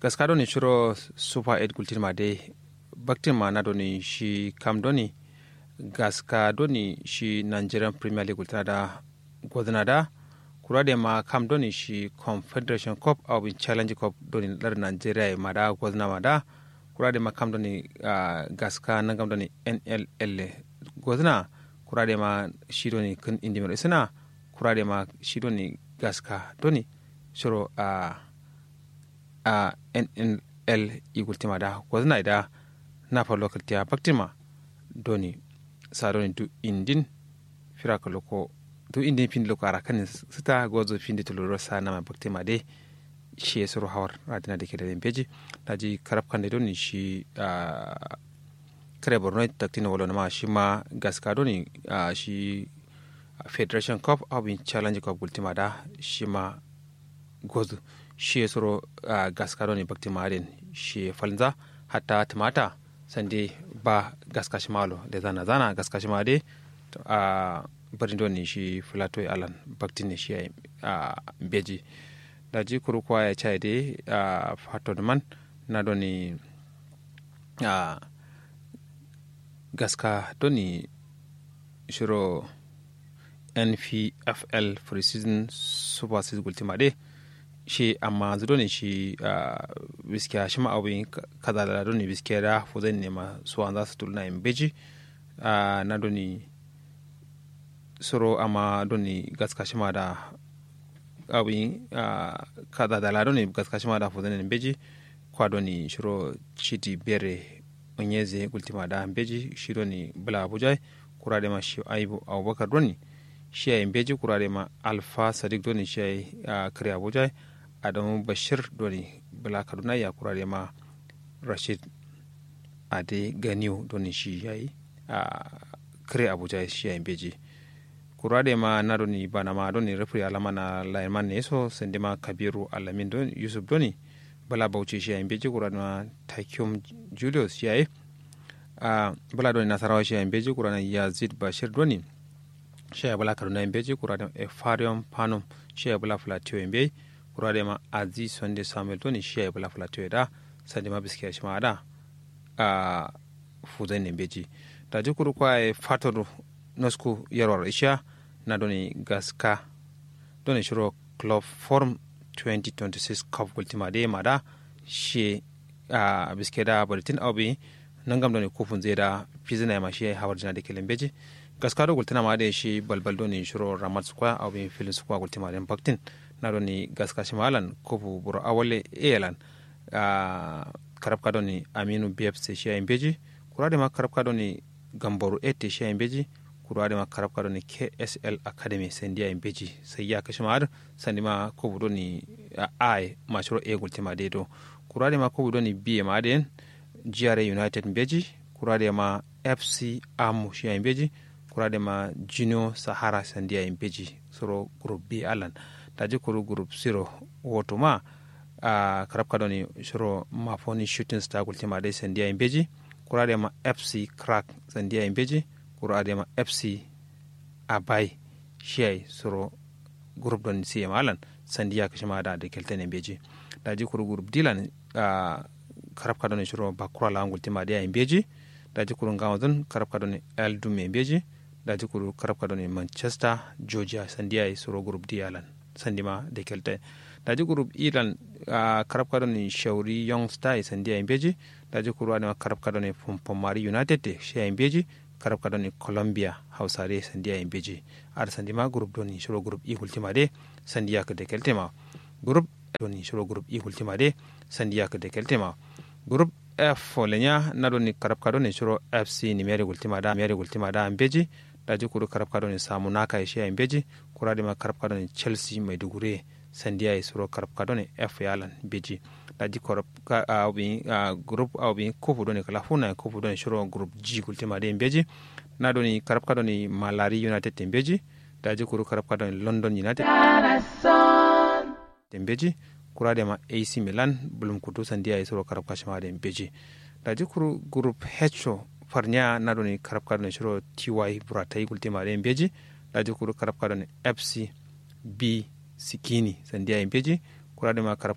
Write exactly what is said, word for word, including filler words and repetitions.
Gaska doni shiro super eight gultin ma dai baktin ma na doni shi kam doni gaska doni shi nigerian premier league gultina da gozna da kura de ma kam doni shi confederation cup au bin challenge cup doni lar nigeria ma da gozna ma da kura de ma kam doni gaska nangam doni nll gozna kura de ma shi doni kin indimir isina kura de ma shi doni gaska doni shiro a a nnl igultima da gozna da na fa local tiya baktima doni sa doni du indin fira ka loko du indin fin loko ara kan sita gozo fin de tuluro sa na ma baktima de shi suro hawar adina de ke da beji daji karab kan de doni shi a kare borno taktin wala ma shi ma gaska doni a shi federation cup abin challenge cup gultima da shi ma gozu shi suro gaska doni baktima din shi falza hatta tumata sande ba gaska shi malo da zana zana gaska shi ma dai a birnin doni shi filato alan baktin ne shi a beji daji kuru kwa ya chai dai a fato man na doni a gaska doni shiro npfl pre-season super season gultima de shi amma zu doni shi a biskiya shi ma abu kaza da doni biskiya da fuzan ne ma suwan za su tulna in beji a na doni suro amma doni gaska shi ma da abu a kaza da la doni gaska shi ma da fuzan ne in beji kwa doni shiro chidi bere onyeze gultima da mbeji shi doni bula abuja kura de ma shi aibu abubakar doni shi ai mbeji kura de ma alfa sadiq doni shi ai kare abuja adamu bashir doni bula kaduna ya kura de ma rashid ade ganiu doni shi ai kare abuja shi ai mbeji kura de ma na doni bana ma doni rafri alama na layin man ne so sande ma kabiru alamin doni yusuf doni bala bauchi shi yayi mbeji kura dima takium julius shi yayi a bala doni nasarawa shi yayi mbeji kura dima yazid bashir doni shi yayi bala kaduna yayi mbeji kura dima efarium panum shi yayi bala flatiyo yayi mbeji kura dima aziz sunday samuel doni shi yayi bala flatiyo yayi da sande ma biskiya shi ma ada a fuzan ne mbeji daji kuru kwa yayi fator nosku yarwar isha na doni gaska doni shiro club forum twenty twenty-six cup gultima de ma da shi a biske da baritin au bi nangam doni kufun zai da fizina ma shi hawar jina da kelen beji gaska do gultina ma da shi balbal doni shiro ramat square au bi filin square gultima de baktin na doni gaska shi malan kufu buro awale elan a karabka doni aminu bfc shi yayi mbeji kura de ma karabka doni gambaru ete shi yayi mbeji kura de ma karabka doni ksl academy sandi yayi mbeji sai ya kashi ma adin sandi ma kubu doni ai ma shiro e gultima de do kura de ma kubu doni biye ma adin jiyare united mbeji kura de ma fc amu shi yayi mbeji kura de ma jino sahara sandi yayi mbeji suro group b alan daji kuru group siro woto ma a karabka doni suro mafoni shooting star gultima dai sandi yayi mbeji kura de ma fc crack sandi yayi mbeji kura de ma fc abai shi yayi suro group doni siye ma alan sandi ya kashi ma da da keltene mbeji daji kuru group d lan a karabka doni suro bakura la gultima dai yayi mbeji daji kuru ngawo zun karabka doni el dume mbeji daji kuru karabka doni manchester georgia sandi yayi suro group d alan sandi ma da kelte daji group e lan karabka doni shauri young star sandi yayi mbeji daji kuru adima karabka doni pompomari united shi yayi mbeji karabka doni colombia hausare sandi yayi mbeji ada sandi ma group doni shiro group e gultima de sandi yak da kelte ma group doni shiro group e gultima de sandi yak da kelte ma group f folenya na doni karabka doni shiro fc nimeri gultima da meri gultima da mbeji daji kuru karabka doni samu naka shi yayi mbeji kura dima karabka doni chelsea maiduguri sandi yayi suro karabka doni f yalan mbeji daji karabka a bi a group a bi kufu doni kala funa kufu doni shiro group g gultima de mbeji na doni karabka doni malari united mbeji daji kuru karabka doni london united mbeji kura de ma ac milan bulum kutu sandi yayi suro karabka shima de mbeji daji kuru group h farnya na doni karabka doni shiro ty buratai gultima de mbeji daji kuru karabka doni fc b sikini sandi yayi mbeji kura de ma karabka